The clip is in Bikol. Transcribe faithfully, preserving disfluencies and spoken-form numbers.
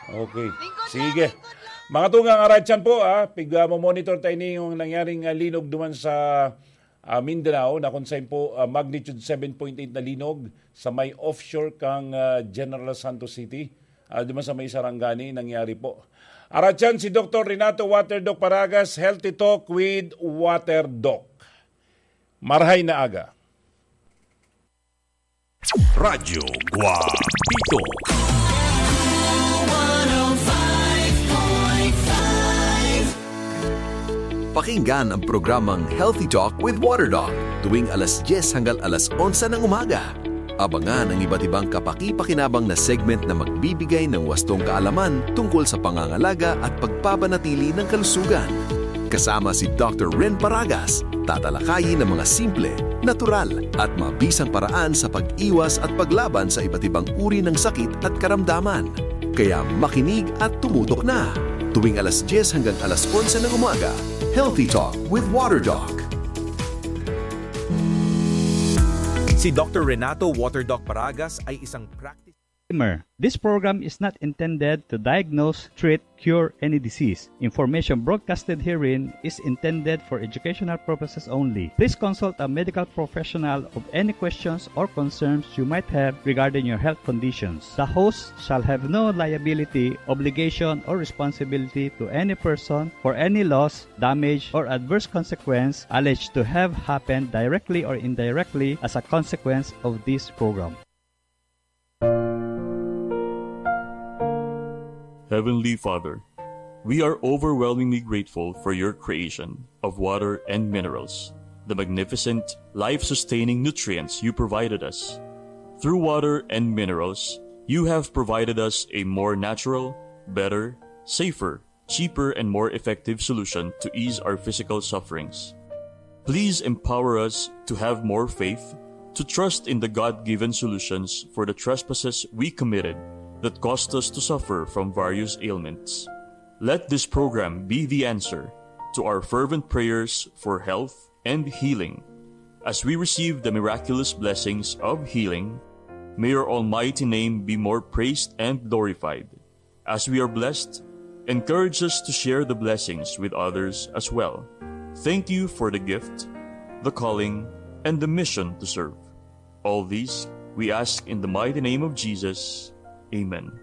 Okay. Sige. Mga tugang, aratyan po, ah, pig, ah, monitor tayo ninyo ang nangyaring, ah, linog duman sa, ah, Mindanao, na kung saan po, ah, magnitude seven point eight na linog sa may offshore kang, ah, General Santos City, ah, duman sa may Sarangani nangyari po. Aratyan si Doktor Renato Waterdoc Paragas, Healthy Talk with Waterdoc. Marhay na aga. Radyo Guapito. Pakinggan ang programang Healthy Talk with Water Doc tuwing alas dyes hanggang alas onse ng umaga. Abangan ang iba't ibang kapaki-pakinabang na segment na magbibigay ng wastong kaalaman tungkol sa pangangalaga at pagpapanatili ng kalusugan. Kasama si Doctor Ren Paragas, tatalakayin ang mga simple, natural, at mabisang paraan sa pag-iwas at paglaban sa iba't ibang uri ng sakit at karamdaman. Kaya makinig at tumutok na. Tuwing alas dyes hanggang alas onse ng umaga, Healthy Talk with Water Doc. Si Doctor Renato Waterdoc Paragas ay isang practice. Disclaimer, this program is not intended to diagnose, treat, cure any disease. Information broadcasted herein is intended for educational purposes only. Please consult a medical professional of any questions or concerns you might have regarding your health conditions. The host shall have no liability, obligation, or responsibility to any person for any loss, damage, or adverse consequence alleged to have happened directly or indirectly as a consequence of this program. Heavenly Father, we are overwhelmingly grateful for your creation of water and minerals, the magnificent, life sustaining nutrients you provided us. Through water and minerals, you have provided us a more natural, better, safer, cheaper, and more effective solution to ease our physical sufferings. Please empower us to have more faith, to trust in the God given solutions for the trespasses we committed that caused us to suffer from various ailments. Let this program be the answer to our fervent prayers for health and healing. As we receive the miraculous blessings of healing, may your almighty name be more praised and glorified. As we are blessed, encourage us to share the blessings with others as well. Thank you for the gift, the calling, and the mission to serve. All these we ask in the mighty name of Jesus. Amen.